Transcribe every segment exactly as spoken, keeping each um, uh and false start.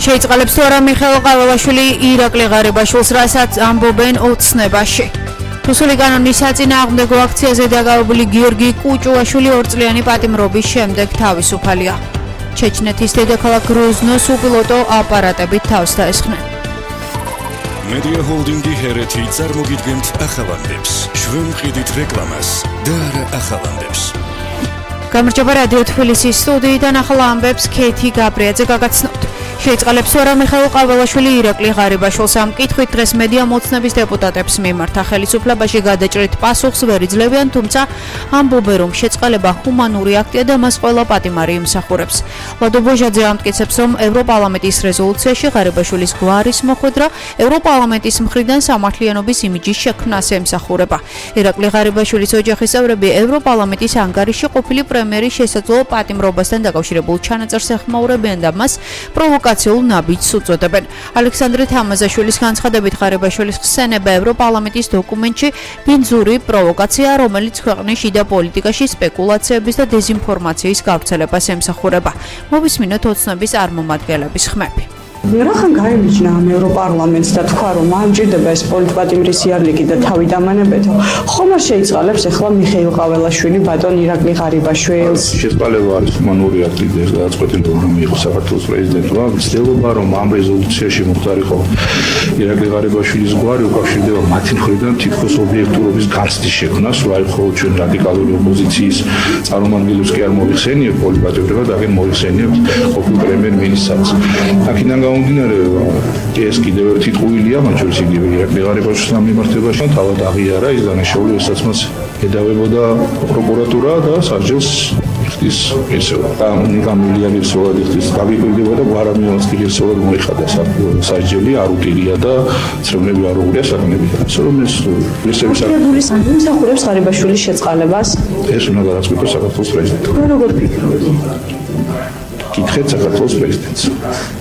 შეიწყალებს თუ არა მიხეილ ყაველაშვილი ირაკლი ღარიბაშვილს, რასაც ამბობენ ოცნებაში. რუსული კანონის საწინააღმდეგო აქციაზე დაგავებული გიორგი კუჭუაშვილი ორწლიანი პატიმრობის შემდეგ თავისუფალია. ჩეჩნეთის დედაქალაქ გროზნოს უპილოტო აპარატებით თავს დაესხნენ. Media Holding-ი ჰერეთი წარმოგიდგენთ ახალანდებს. ჩვენ ვყიდით რეკლამას და არა ახალანდებს. გამარჯობა რადიო თბილისის სტუდიიდან ახლა ამბებს ქეთი გაბრიაძე გაგაცნობთ. შეიწყალებს თუ არა მიხეილ ყაველაშვილი ირაკლი ღარიბაშვილს ამ კითხვით დღეს მედია მოცნების დეპუტატებს მიმართა ხელისუფლებაში გადაჭრით პასუხს ვერ იძლევიან, თუმცა ამბობენ რომ შეწყალება ჰუმანური აქტია და მას ყველა პატიმარი იმსახურებს. ლადო ბოჟაძე ამტკიცებს რომ ევროპარლამენტის რეზოლუციაში ღარიბაშვილის გვარის მოხვედრა ევროპარლამენტის მხრიდან სამართლიანობის იმიჯის შექმნას ემსახურება. ირაკლი ღარიბაშვილის ოჯახის წევრები ევროპარლამენტის ანგარიში ყოფილი პრემიერის შესაძლო პატიმრობასთან დაკავშირებულ ჩანაწერს ეხმაურებიან და მას პროვოკაციულ ნაბიჯს უწოდებენ. ალექსანდრე თამაზაშვილის განცხადებით ღარიბაშვილის ხსენება ევროპარლამენტის დოკუმენტში ბინძური პროვოკაცია, რომელიც ქვეყნის შიდა პოლიტიკაში სპეკულაციების და დეზინფორმაციის გავრცელებას ემსახურება. მოვისმინოთ ოცნების წარმომადგენლების ხმები. რახან გაემიჯნა ამ ევროპარლამენტს და თქვა რომ ამჭირდება ეს პოლიტპატიმრის იარლიკი და თავი დამანებეთო, ხომ არ შეიწყალებს ახლა მიხეილ ყაველაშვილი ბატონ ირაკლი ღარიბაშვილს? შეწყალება არის ჰუმანური აქტი და გადაწყვეტილი რომ მიიღო საქართველოს პრეზიდენტმა. ცდილობა რომ ამ რეზოლუციაში მოხდარიყო ირაკლი ღარიბაშვილის გვარი უკავშირდება მათი მხრიდან თითქოს ობიექტურობის განცდის შექმნას, რომ აი ხოლმე ჩვენ რადიკალური ოპოზიციის წარმომადგენლებს კი არ მოიხსენიებთ პოლიტპატიმრება და აგენ მოიხსენიებთ ყოფილ პრემიერ-მინისტრს. აქედან გამომდინარე ეს კიდევ ერთი ტყუილია, მათ შორის იგივე ირაკლი ღარიბაშვილის მიმართებაში თავად აღიარა ის დანაშაული, რასაც მას ედავებოდა პროკურატურა და სასჯელს იხდის ესეო. და მილიონი სოლად იხდის დაგიკვირდება და გვარამიანს კი სოლად მოიხადა სასჯელი, არ უტირია და ცრემლები არ უღია საკანები. ასე რომ ეს ლისების საკუთრების სამსახურებს ღარიბაშვილის შეწყალებას ეს უნდა გადაწყვიტოს საქართველოს პრეზიდენტი. როგორ ფიქრობთ? კითხეთ საქართველოს პრეზიდენტს.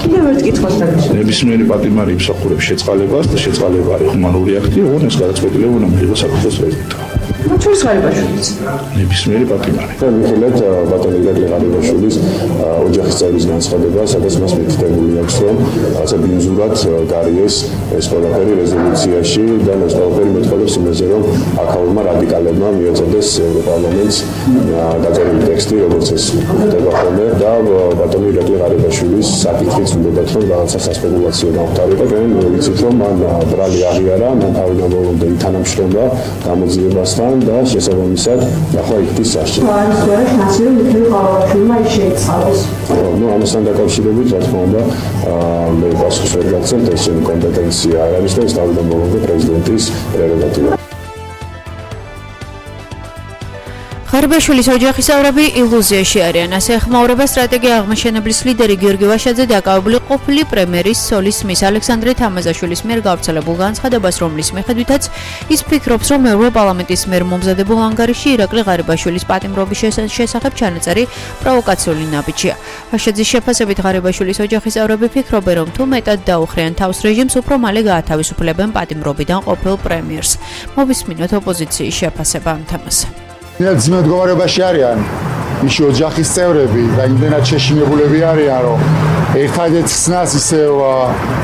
კიდევ ერთ კითხვას დაგისვენებთ. ნებისმიერი პატიმარი იმსახურებს შეწყალებას და შეწყალება არის ჰუმანური აქტი, ოღონდ ეს გადაწყვეტილება უნდა მიიღოს საქართველოს პრეზიდენტმა. ჩვენს ღარიბაშვილის ნებისმიერი პატიმარი. ვიხილეთ ბატონ ირაკლი ღარიბაშვილის ოჯახის წევრის განცხადება, სადაც მას მითითებული აქვს, რომ ასე ბინძურად გარიეს ეს ყველაფერი რეზოლუციაში და ეს ყველაფერი მეტყველებს იმაზე, რომ აქაურმა რადიკალებმა მიეწოდეს ევროპარლამენტს დაწერილი ტექსტი, როგორც ეს ხდება ხოლმე და ბატონ ირაკლი ღარიბაშვილის საკითხიც უნდათ, რომ რაღაცა სასპეკულაციო გამختارიყო, და ვიცით, რომ მან ბრალი აღიარა, მან თავიდან ბოლომდე ითანამშრომლა გამოძიებასთან და შესაბამისად ახლა იქის სასჯელი. არის ვერა შანსი რომ მიხეილ ყაველაშვილმა ის შეიწყალოს. ნუ ამასთან დაკავშირებით რა თქმა უნდა მე პასუხს ვერ გაცემთ, ეს ჩემი კომპეტენცია არ არის და ეს თავიდან ბოლომდე პრეზიდენტის პრეროგატივაა. ღარიბაშვილის ოჯახის წევრები ილუზიაში არიან, ასე ეხმაურება სტრატეგია აღმაშენებლის ლიდერი გიორგი ვაშაძე დაკავებული ყოფილი პრემიერის სოლის მის ალექსანდრე თამაზაშვილის მიერ გავრცელებულ განცხადებას, რომლის მიხედვითაც ის ფიქრობს, რომ ევროპარლამენტის მიერ მომზადებულ ანგარიში ირაკლი ღარიბაშვილის პატიმრობის შესახებ ჩანაწერი პროვოკაციული ნაბიჯია. ვაშაძის შეფასებით ღარიბაშვილის ოჯახის წევრები ფიქრობენ, რომ თუ მეტად დაუხრიან თავს რეჟიმს, უფრო მალე გაათავისუფლებენ პატიმრობიდან ყოფილ პრემიერს. მოვისმინოთ ოპოზიციის შეფასება ამ თემაზე. ძიმე მდგომარეობაში არიან მისი ოჯახის წევრები და იმდენად შეშინებულები არიან, რომ ერთადერთ ხსნას ისევ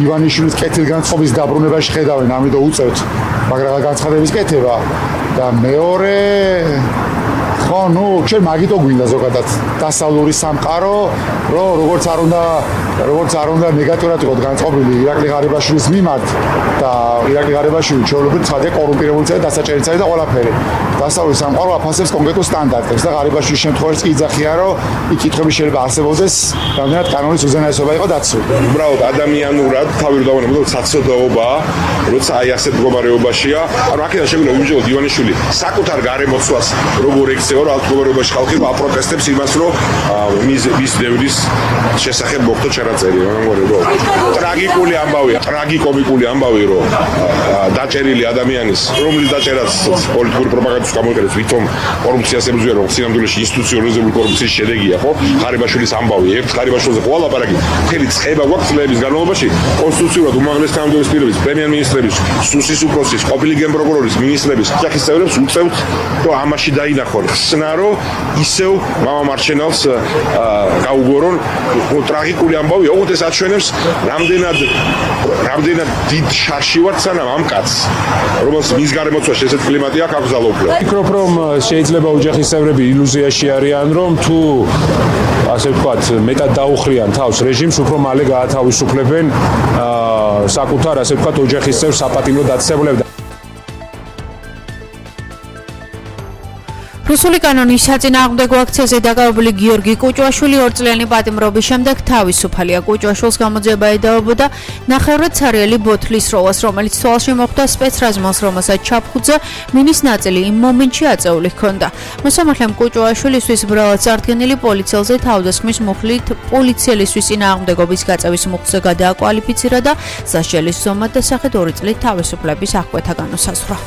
ივანიშვილის კეთილგანწყობის დაბრუნებაში ხედავენ, ამიტომ უწევთ მაგრამ განცხადების კეთება და მეორე ხო, ნუ ჩვენ მაგიტო გვინდა ზოგადად დასავლური სამყარო, რომ როგორც არ უნდა როგორც არ უნდა ნეგატიურად იყოს განწყობილი ირაკლი ღარიბაშვილის მიმართ და ირაკლი ღარიბაშვილი ჩვეულებრივ ცხადია კორუმპირებულია და დასაჭერიცაა და ყველაფერი. დასავლური სამყარო აფასებს კონკრეტულ სტანდარტებს და ღარიბაშვილის შემთხვევაში იძახია, რომ იქ კითხვები შეიძლება არსებობდეს, რამდენად კანონის უზენაესობა იყო დაცული. უბრალოდ ადამიანურად თავი რომ დავანებოთ საცოდაობაა, როცა აი ასეთ მდგომარეობაშია, ანუ აქედან შეგვიძლია ვიმჯეროთ ივანიშვილი საკუთარ გარემოცვას როგორ ექცევა, რომ ამ მდგომარეობაში ხალხი აპროტესტებს იმას, რომ მის მის დევრის შესახებ მოხდა ჩანაწერი, მაგრამ ტრაგიკული ამბავია, ტრაგიკომიკული ამბავი, რომ დაჭერილი ადამიანის, რომლის დაჭერაც პოლიტიკური პროპაგანდის გამოიყენებს, ვითომ კორუფციას ებრძვიან, რომ სინამდვილეში ინსტიტუციონალიზებული კორუფციის შედეგია, ხო? ღარიბაშვილის ამბავი, ერთ ღარიბაშვილზე ყველა ლაპარაკი, მთელი წება გვაქვს წლების განმავლობაში, კონსტიტუციურად უმაღლეს თანამდებობის პირების, პრემიერ-მინისტრების, სუსის უფროსის, ყოფილი გენპროკურორის, მინისტრების, ოჯახის წევრებს უწევთ, რომ ამაში დაინახონ. გახსნა, რომ ისევ მამა მარჩენალს გაუგორონ. ტრაგიკული ამბავი, ოღონდ ეს აჩვენებს რამდენად რამდენად დიდ შარში ვარ სანამ ამ კაცს, რომელს მის გარემოცვაში ესეთ კლიმატი აქვს აკრძალოფლა. ვფიქრობ, რომ შეიძლება ოჯახის წევრები ილუზიაში არიან, რომ თუ ასე ვთქვათ, მეტად დაუხრიან თავს რეჟიმს, უფრო მალე გაათავისუფლებენ საკუთარ, ასე ვთქვათ, ოჯახის წევრს საპატიმრო დაწესებულებად. რუსული კანონის საწინააღმდეგო აქციაზე დაკავებული გიორგი კუჭუაშვილი ორწლიანი პატიმრობის შემდეგ თავისუფალია. კუჭუაშვილს გამოძიება ედავებოდა ნახევრად ცარიელი ბოთლის როლას, რომელიც თვალში მოხვდა სპეცრაზმელს, რომელსაც ჩაფხუძა მინის ნაწილი იმ მომენტში აწეული ჰქონდა. მოსამართლემ კუჭუაშვილისთვის ბრალად წარდგენილი პოლიციელზე თავდასხმის მუხლით პოლიციელისთვის წინააღმდეგობის გაწევის მუხლზე გადააკვალიფიცირა და სასჯელის ზომად დასახეთ ორი წლით თავისუფლების აღკვეთა განუსაზღვრა.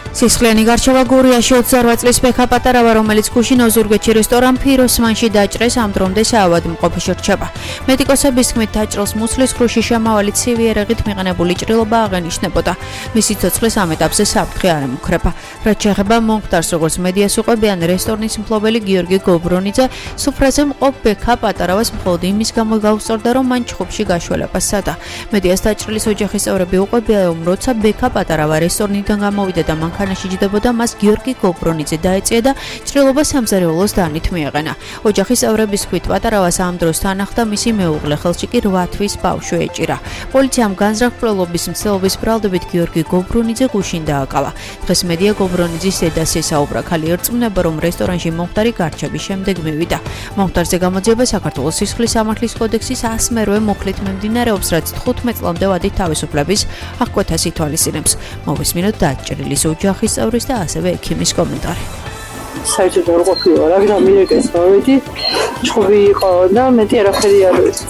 სისხლიანი გარჩევა გურიაში ოცდაორ წლის ბექა პატარავა, რომელიც გუშინ ოზურგეთში რესტორან ფიროსმანში დაჭრეს, ამ დრომდე საავადმყოფოში რჩება. მედიკოსების თქმით, დაჭრილს მუცლის ქრუში შემავალი ცივი ერეღით მიყენებული ჭრილობა აღენიშნებოდა. მისი ცოცხლის ამ ეტაპზე საფრთხე არ ემუქრება. რაც შეეხება მომხდარს, როგორც მედიას უყვებიან, რესტორნის მფლობელი გიორგი გობრონიძე სუფრაზე მყოფ ბექა პატარავას მხოლოდ იმის გამო გაუსწორდა, რომ მან ჩხუბში გაშველება სცადა. მედიას დაჭრილის ოჯახის წევრები უყვებიან, რომ როცა ბექა პატარავა რესტორნიდან გამოვიდა და მანქანაში ჯდებოდა, მას გიორგი გობრონიძე დაეწია და ჭრილობა სამზარეულოს დანით მიეღენა. ოჯახის წევრების თქმით, პატარავას ამ დროს თან ახლდა მისი მეუღლე, ხელში კი რვა თვის ბავშვი ეჭირა. პოლიციამ განზრახ-მკვლელობის მცდელობის ბრალდებით გიორგი გობრონიძე გუშინ დააკავა. დღეს მედია გობრონიძის დედას ესაუბრა. ქალი ერწმუნება, რომ რესტორანში მომხდარი გარჩევის შემდეგ მივიდა. მომხდარზე გამოძიება საქართველოს სისხლის სამართლის კოდექსის ასმერვე მუხლით მიმდინარეობს, რაც თხუთმეტ წლამდე ვადით თავისუფლების აღკვეთას ითვალისწინებს. მოვისმინოთ დაჭრილის ოჯახის წევრის და ასევე ექიმის კომენტარი. საერთოდ არ ყოფილა რა, ამერიკას მოვედი, ჩხუბი იყო და მეტი არაფერი არ ვიცი.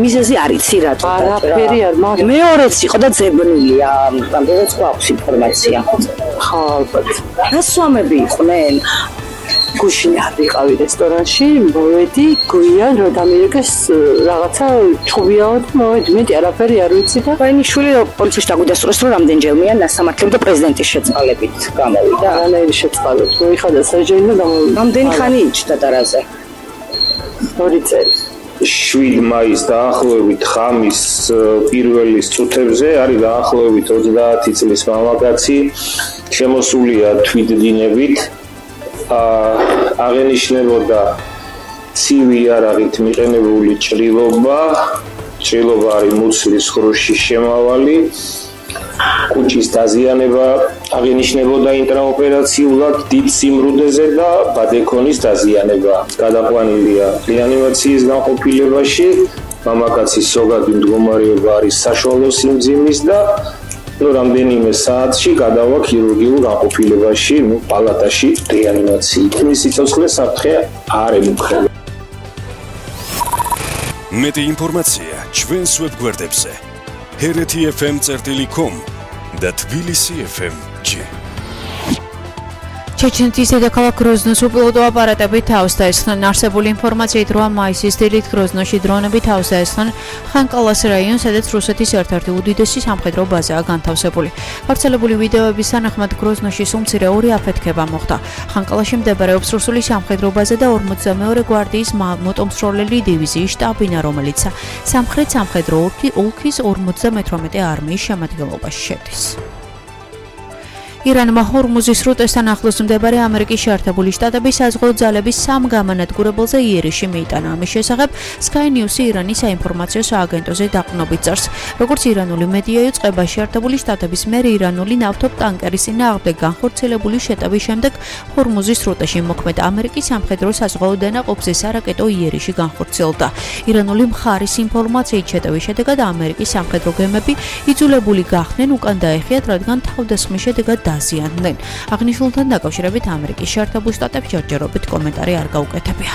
მიზეზი არ იცი რატო არაფერი არ მაგრამ მეორეც იყო და ძებნილია, რამდენიც გვაქვს ინფორმაცია. ხო, ალბათ. რა სვამები იყვნენ? გუშინ ვიყავი რესტორანში, მოვედი, გვიან რომ ამერიკას რაღაცა ჩხუბიაო და მოვედი, მეტი არაფერი არ ვიცი და ვაინი შვილი პოლიციაში დაგვიდასწრეს, რომ რამდენჯერმეა ნასამართლებლად და პრეზიდენტის შეწყალებით გამოვიდა. არანაირი შეწყალებით მოიხადა საჯელი და გამოვიდა. რამდენი ხანი იჯდა დარაზე? ორი წელი. შვიდ მაისს დაახლოებით ღამის პირველი წუთებზე არის დაახლოებით ოცდაათი წლის მამაკაცი, შემოსულია თვითდინებით. აღენიშნებოდა ცივი იარაღით მიყენებული ჭრილობა, ჭრილობა არის მუცლის ქრუში შემავალი, კუჭის დაზიანება აღენიშნებოდა ინტრაოპერაციულად დიდ სიმრუდეზე და ბადეკონის დაზიანება. გადაყვანილია რეანიმაციის განყოფილებაში, მამაკაცის ზოგადი მდგომარეობა არის საშუალო სიმძიმის და ნუ რამდენიმე საათში გადავა ქირურგიულ განყოფილებაში, ნუ პალატაში რეანიმაციით. მისი სიცოცხლე საფრთხე არ ემუქრება. მეტი ინფორმაცია ჩვენს ვებგვერდებზე ჰერეთი ეფ ემ წერტილი კომ და თბილისი ეფ ემ ჯი. ჩეჩნეთის დედაქალაქ გროზნოს უპილოტო აპარატები თავს დაესხნენ. არსებული ინფორმაციით რვა მაისის დილით გროზნოში დრონები თავს დაესხნენ ხანკალას რაიონს, სადაც რუსეთის ერთ-ერთი უდიდესი სამხედრო ბაზაა განთავსებული. გავრცელებული ვიდეოების თანახმად გროზნოში სულ მცირე ორი აფეთქება მოხდა. ხანკალაში მდებარეობს რუსული სამხედრო ბაზა და ორმოცდამეორე გვარდიის მოტომსროლელი დივიზიის შტაბ-ბინა, რომელიც სამხრეთ სამხედრო ოლქის ორმოცდამეთვრამეტე არმიის შემადგენლობაში შედის. ირანმა ჰორმუზის სრუტესთან ახლოს მდებარე ამერიკის შეერთებული შტატების საზღვაო ძალების სამ გამანადგურებელზე იერიში მიიტანა. ამის შესახებ Sky News-ი ირანის საინფორმაციო სააგენტოზე დაყრდნობით წერს. როგორც ირანული მედია იწყება, შეერთებული შტატების მიერ ირანული ნავთობ-ტანკერის წინააღმდეგ განხორციელებული შეტევის შემდეგ ჰორმუზის სრუტეში მოქმედ ამერიკის სამხედრო საზღვაო დანაყოფზე სარაკეტო იერიში განხორციელდა. ირანული მხარის ინფორმაციით შეტევის შედეგად ამერიკის სამხედრო გემები იძულებული გახდნენ უკან დაეხიათ, რადგან თავდასხმის შედეგად დაზიანდნენ. აღნიშნულთან დაკავშირებით ამერიკის შეერთებულ შტატებს ჯერჯერობით კომენტარი არ გაუკეთებია.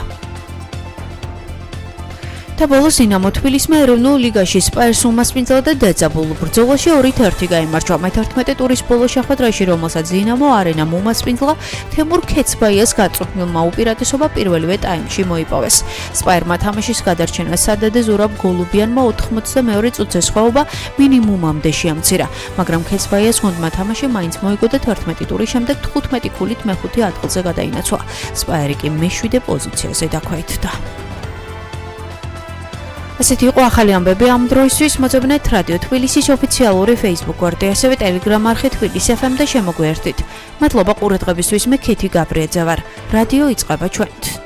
და ბოლოს დინამო თბილისმა ეროვნულ ლიგაში სპაერს უმასპინძლა და დაძაბულ ბრძოლაში ორით ერთი გაიმარჯვა. მეთერთმეტე ტურის ბოლო შეხვედრაში, რომელსაც დინამო არენამ უმასპინძლა, თემურ ქეცბაიას გაწვრთნილმა უპირატესობა პირველივე ტაიმში მოიპოვეს. სპაერმა თამაშის გადარჩენას სადადე ზურაბ გოლუბიანმა ოთხმოცდამეორე წუთზე სხვაობა მინიმუმამდე შეამცირა, მაგრამ ქეცბაიას გუნდმა თამაში მაინც მოიგო და თერთმეტი ტურის შემდეგ თხუთმეტი ქულით მეხუთე ადგილზე გადაინაცვლა. სპაერი კი მეშვიდე პოზიციაზე დაქვეითდა. ასეთი იყო ახალი ამბები ამ დროისთვის. მოძებნეთ რადიო თბილისის ოფიციალური Facebook გვერდი, ასევე Telegram არხი თბილისი ეფ ემ და შემოგვიერთდით. მადლობა ყურადღებისთვის, მე ქეთი გაბრიაძე ვარ. რადიო იწყება ჩვენით.